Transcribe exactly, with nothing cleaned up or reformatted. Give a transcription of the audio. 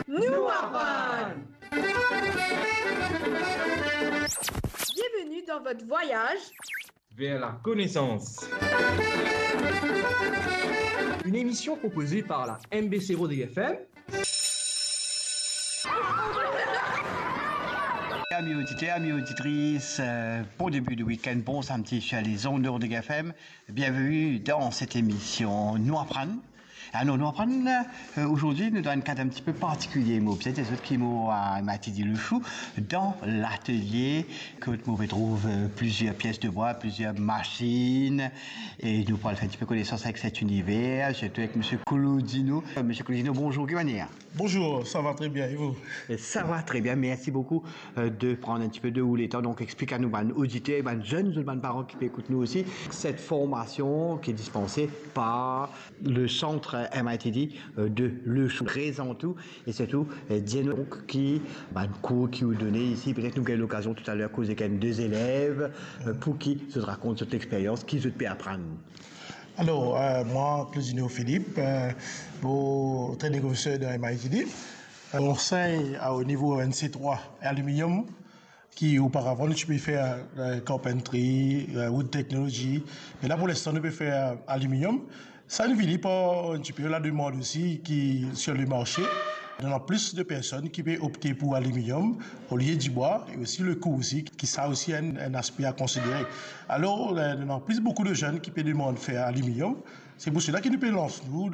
Nou aprann. Bienvenue dans votre voyage vers la connaissance. Une émission proposée par la M B C Rodrigues F M. Ami oditer, ami oditris, euh, bon début de week-end, bon samedi sur les ondes de Rodrigues F M. Bienvenue dans cette émission Nou Aprann. Alors, Nou Aprann, euh, aujourd'hui, nous dans un cadre un petit peu particulier. Mo, peut-être les autres qui m'ont, euh, m'a dit le chou, dans l'atelier, kot mo pe trouv, euh, plusieurs pièces de bois, plusieurs machines, et nou pou al fer un petit peu connaissance avec cet univers, surtout avec monsieur Claudino. Euh, monsieur Claudino, bonjour, ki manier? Bonjour, ça va très bien, et vous? Et ça va très bien, merci beaucoup, euh, de prendre un petit peu de ou letan. Donc, explik anou, bann oditer, bann zenn, bann paran ki pe ekout nou osi, cette formation qui est dispensée par le centre M I T D, euh, de Le Chou. Prezant ou, e sirtou, euh, dir nou donk ki, bann kour ki ou done isi, petet nou gagn lokazion toutalor koz avek enn de zelev, euh, pou ki zot rakont zot lexperyans, ki zot pe aprann. Alors, euh, moi, Claudino Philippe, euh, mo antrene professer dan M I T D. Euh, mo ansegn a, o nivo N C trois, aluminium, ki oparavan nou ti pe fer, euh, carpentry, euh, wood technology. Me la, pou linstan, nou pe fer, euh, aluminium. Sa inn vini par un petit peu la demande aussi qui, sur le marché, il y a plus de personnes qui peuvent opter pour aluminium au lieu du bois, et aussi le coût aussi, qui ça aussi un, un aspect à considérer. Alors, euh, il y a plus beaucoup de jeunes qui peuvent demander faire aluminium. C'est pour cela que nous pouvons lancer, nous,